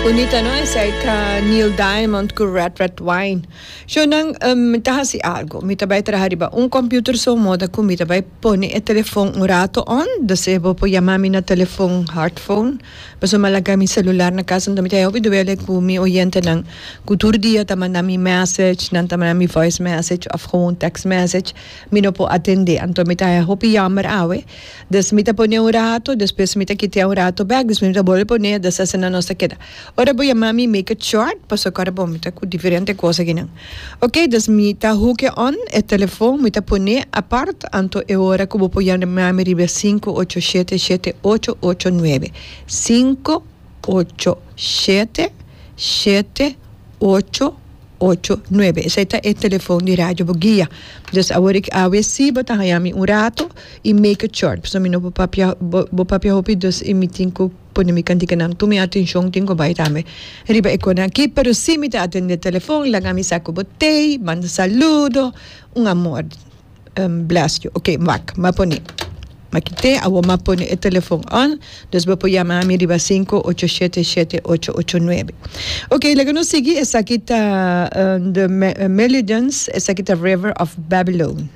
Bunita no esei ta Neil Diamond cu Red Red Wine. Shownan mi ta haci algo. Mi ta bay traha riba un computer so moda cu mi ta bay pone e telefon un rato on. Dus e bo por yama mi na telefon hard phone. Pasobra mi a laga mi celular na casa enton mi ta hopi duele cu mi oyentenan cu tur dia ta manda mi message, nan ta manda mi voice message of gewoon text message. Mi no por atende. Anto mi ta haya hopi jammer awe. Dus mi ta pone un rato, despues mi ta kitea un rato bek, despues mi ta bolbe pone, dus asina nos ta keda. Ora bo yama mi make it short, pasobra ora bo mi ta ku diferente kos akinan. Ok, dus mi ta hook e on e telefon, mi ta pone apart, anto e ora ku bo por yama mi riba sinku ocho shete shete ocho ocho nuebe, sinku ocho shete shete ocho ocho nuebe. Esei ta e telefon di Radio Boguia. Dus awor ik awe si bo ta haña mi un rato i make it short pasobra mi no por papia bo bo papia hopi dus i mi tin ku pone mi kantikanan tur mi atenshon tin ku bai tambe riba e konan aki pero si mi ta atende telefon laga mi sa ku bo tei manda saludo un amor. Bless you. Ok, wak, m'a pone. M'a kite, awor m'a pone e telefon on, dus bo por yama mi riba 5877889. Ok, laga nos sigui, esaki ta The Melodians, esaki ta River of Babylon.